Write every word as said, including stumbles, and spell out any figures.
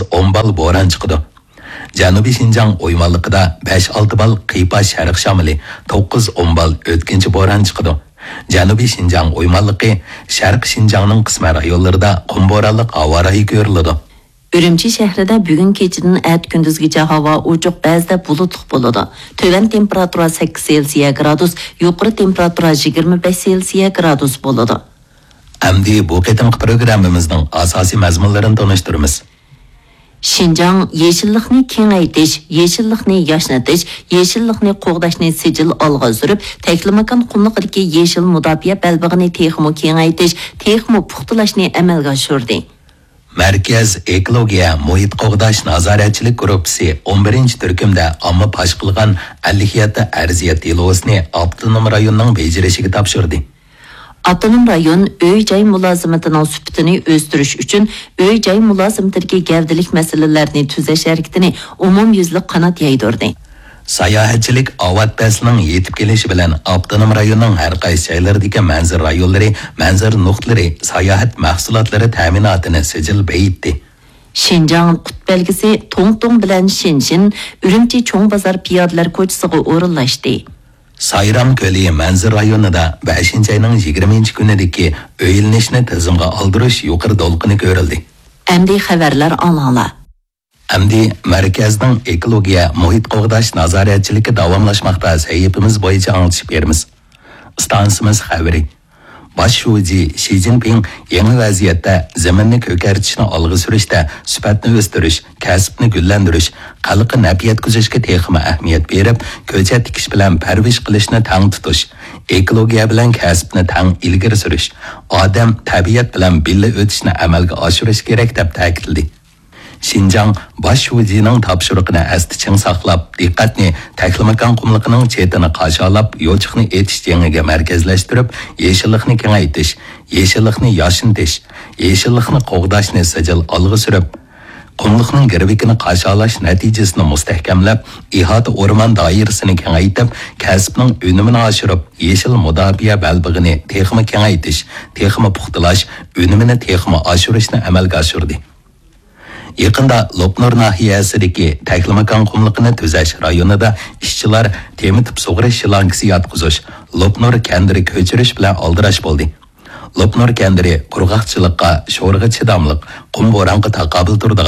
ئون بال بوران چىقىدۇ. جەنۇبىي شىنجاڭ ئويمانلىقىدا بەش ئالتە بال قىيپاش شەرق شامىلى، توققۇز ئون بال ئۆتكۈنچى بوران چىقىدۇ. جەنۇبىي شىنجاڭ ئويمانلىقى، شەرقىي شىنجاڭنىڭ قىسمەن رايونلىرىدا قۇم بورانلىق ھاۋا رايى كۆرۈلىدۇ. ئۈرۈمچى شەھىرىدە بۈگۈن كېچىدىن ئەتە كۈندۈزگىچە ھاۋا ئوچۇق، بەزىدە بۇلۇتلۇق بولىدۇ. تۆۋەن تېمپېراتۇرا سەككىز سېلسىيە گرادۇس، يۇقىرى تېمپېراتۇرا يىگىرمە بەش سېلسىيە گرادۇس بولىدۇ. ئەمدى بۇ قېتىمقى پروگراممىمىزنىڭ ئاساسىي مەزمۇنلىرىنى تونۇشتۇرىمىز. شىنجاڭ يېشىللىقنى كېڭەيتىش، يېشىللىقنى ياشنىتىش، يېشىللىقنى قوغداشنى سىجىل ئالغا سۈرۈپ، تەكلىماكان قۇملۇقىدىكى يېشىل مۇداپىئە بەلبېغىنى تېخىمۇ كېڭەيتىش، تېخىمۇ پۇختىلاشنى ئەمەلگە ئاشۇردى. مەركەز ئېكولوگىيە مۇھىت قوغداش نازارەتچىلىك گۇرۇپپىسى ئون بىرىنچى تۈركۈمدە ئامما پاش قىلغان ئەللىك يەتتە ئەرزىيەت دېلوسىنى ئاپتونوم رايوننىڭ بېجىرىشىگە تاپشۇردى. ئاپتونوم رايون ئۆي-جاي مۇلازىمىتىنىڭ سۈپىتىنى ئۆستۈرۈش ئۈچۈن ئۆي-جاي مۇلازىمىتىدىكى گەۋدىلىك مەسىلىلەرنى تۈزەش ھەرىكىتىنى ئومۇميۈزلۈك قانات يايدۇردى. ساياھەتچىلىك ئاۋات پەسلىنىڭ يېتىپ كېلىشى بىلەن ئاپتونوم رايوننىڭ ھەر قايسى جايلىرىدىكى مەنزىرە رايونلىرى، مەنزىرە نۇقتىلىرى، ساياھەت مەھسۇلاتلىرى تەمىناتىنى سىجىل بېيىتتى. شىنجاڭ قۇت بەلگىسى توڭتۇڭ بىلەن شېنشىن ئۈرۈمچى چوڭ بازار پىيادىلەر كوچىسىغا ئورۇنلاشتى. سايرام كۆلى مەنزىرە رايونىدا بەشىنچى ئاينىڭ يىگىرمىنچى كۈنىدىكى ئۆيلىنىشنى تىزىمغا ئالدۇرۇش يۇقىرى دولقۇنى كۆرۈلدى. ئەمدى خەۋەرلەر ئاڭلاڭلار. ئەمدى مەركەزنىڭ ئېكولوگىيە مۇھىت قوغداش نازارەتچىلىكى داۋاملاشماقتا سەھىپىمىز بويىچە ئاڭلىتىش بېرىمىز. ئىستانسىمىز خەۋىرى. باش شۇجى شى جىنپىڭ يېڭى ۋەزىيەتتە زېمىننى كۆكەرتىشنى ئالغا سۈرۈشتە سۈپەتنى ئۆستۈرۈش، كەسىپنى گۈللەندۈرۈش، خەلققە نەپ يەتكۈزۈشكە تېخىمۇ ئەھمىيەت بېرىپ، كۆچەت تىكىش بىلەن پەرۋىش قىلىشنى تەڭ تۇتۇش، ئېكولوگىيە بىلەن كەسىپنى تەڭ ئىلگىرى سۈرۈش، ئادەم، تەبىئەت بىلەن بىللە ئۆتۈشنى ئەمەلگە ئاشۇرۇش كېرەك، دەپ تەكىتلىدى. شىنجاڭ باش شۇجىنىڭ تاپشۇرۇقىنى ئەستە چىڭ ساقلاپ، دىققەتنى تەكلىماكان قۇملۇقىنىڭ چېتىنى قاشالاپ، يوچۇقنى ئېتىش جېڭىگە مەركەزلەشتۈرۈپ، يېشىللىقنى كېڭەيتىش، يېشىللىقنى ياشنىتىش، يېشىللىقنى قوغداشنى سىجىل ئالغا سۈرۈپ، قۇملۇقنىڭ گىرۋىكىنى قاشالاش نەتىجىسىنى مۇستەھكەملەپ، ئىھاتە ئورمان دائىرىسىنى كېڭەيتىپ، كەسىپنىڭ ئۈنۈمىنى ئاشۇرۇپ، يېشىل مۇداپىئە بەلبېغىنى تېخىمۇ كېڭەيتىش، تېخىمۇ پۇختىلاش، ئۈنۈمىنى تېخىمۇ ئاشۇرۇشنى ئەمەلگە ئاشۇردى. يېقىندا لوپنۇر ناھىيەسىدىكى تەكلىماكان قۇملۇقىنى تۈزەش رايونىدا ئىشچىلار تېمىتىپ سۇغىرىش شلانكىسى ياتقۇزۇش، لوپنۇر كەندىرى كۆچۈرۈش بىلەن ئالدىراش بولدى. لوپنۇر كەندىرى قۇرغاقچىلىققا، شورىغا چىداملىق، قۇم بورانغا تاقابىل تۇرىدىغان